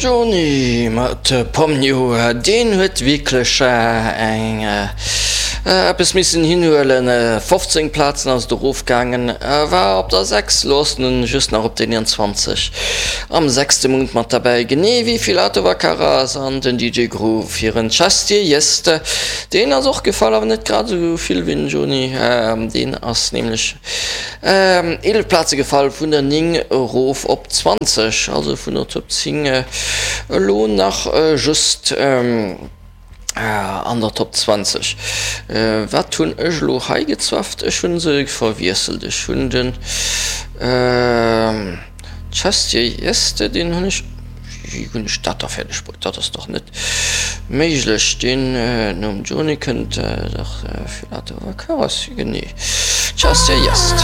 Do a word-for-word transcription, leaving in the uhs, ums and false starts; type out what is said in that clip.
Johnny mat Pomnio, deen huet wierklech eng eppes missen hinhuelen. fofzéng Plazen ass et erofgaangen, war op der sechs, elo ass en just nach op der eenanzwanzeg am sechste Mount mat derbäi, genee wéi Filatova Karas an den D J Groove hiren Chestie Jest. Deen ass och gefall, awer net grad esou vill wéi den Johnny, deen ass nämlech eelef Plaze gefall, vun der néng erof op zwanzeg, also vun der Top zéng elo nach just an der Top zwanzeg. Wat hunn ech elo hei gezwafft? Ech hunn se verwiesselt. Ech hunn den Chestie Jeste, deen hunn ech, wéi hunn ech dat da fäerdeg bruet? Dat ass dach net méiglech. Deen nom Johnny kënnt dach Filatova Karas, genee, Chestie Jeste.